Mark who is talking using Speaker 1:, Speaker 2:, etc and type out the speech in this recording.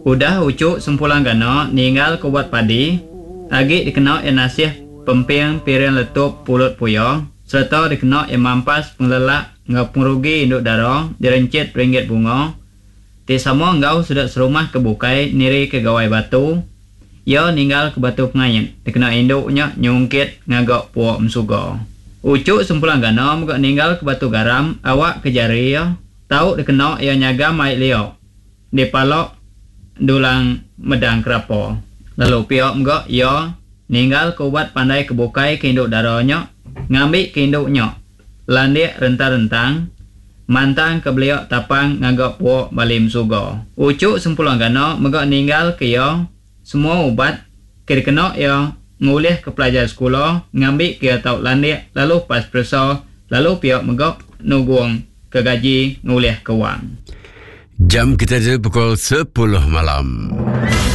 Speaker 1: Udah uchu Sempulang Gana ninggal ke ubat padi, agi dikena iya nasih pemping piring letup pulut puya sereta dikena iya mampas pengelelak enggau pengerugi indu dara direnchit ringgit bunga ti sama enggau sida serumah ke bukai nirika gawai batu, iya ninggalka batu pengait dikena indu nya nyungkit ngaga pua emsuga. Uchu Sempulang Gana mega ninggalka batu garam awakka jari iya tau dikena iya nyagam ai lia. Dipalok dulang medang kerapa. Lalu pia mega iya ninggal ke ubat pandai ke bukai ke indu dara nya ngambi ke indu nya landik rentang-rentang mantang ke belia tapang ngaga puok bali mesuga. Uchu Sempulang Gana mega ninggal ke iya semua ubat ke dikena iya ngulih ke pelajar sekula ngambi ke iya tau landik lalu pas peresa lalu pia mega nugung ke gaji ngulih ke wang.
Speaker 2: Jam kita tu pukul 10 malam.